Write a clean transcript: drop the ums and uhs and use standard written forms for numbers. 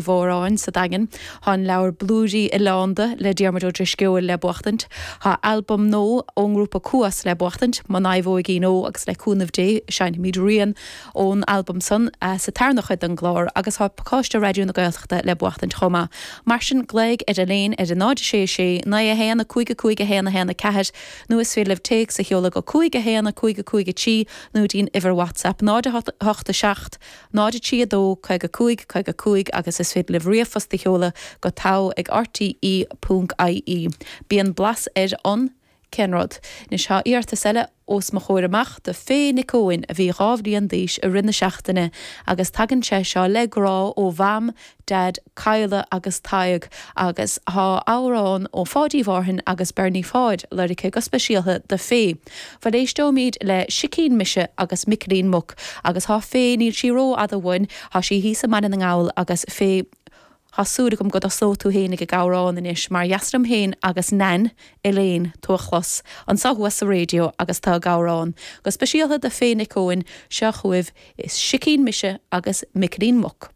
Mhóráin sa Daingean. Tá an leabhar Blúirí Oileánda le Diarmuid Ó Drisceoil le buachtaint. Tá albam nua ón ngrúpa Cuas le buachtaint, Mo Naomhóigín Ó agus le cúnamh Dé seinnfimid rian ón albam san sa tarna chuid den gclár agus tá pacáiste Raidió na Gaeltachta le buachtaint chomh maith. Mar sin glaoigh ar Elaine ar 0 6 6 9 1 5 5 1 1 4 nó is féidir libh téacs a sheoladh go 5 1 5 5 3 nó dtí'n uimhir WhatsApp 0 8 7 0 3 2 55 55 agus is féidir libh ríomhphost a sheoladh go togha ag rte ponc ie. Bíonn blas ar an, cén rud? Anois tá iarratas eile os mo chomhair amach do Faye Nic Eoin a bhí 2 bhliain d'aois i rith na seachtaine agus tagann sé seo le grá ó Mham, Daid, Cadhla agus Tadhg agus tá amhrán ó Pháidí Mhárthain agus Bernie Pháid lorgtha go speisialtha do Faye. Bhuel éisteoimid le Sicín Mise agus Micilín Muc agus tá Faye, níl sí ró-fhada uainn, tá sí thíos i mBaile na nGall agus Faye, tá súil agam go dtosóidh tú fhéinig ag amhrán anois mar dheas liom fhéin agus Nan, Elaine, tú a chlos anso thuas sa raidió agus tú ag amhrán. Go speisialtha do Faye Nic Eoin, seo chugaibh Is Sicín Mise agus Micilín Muc.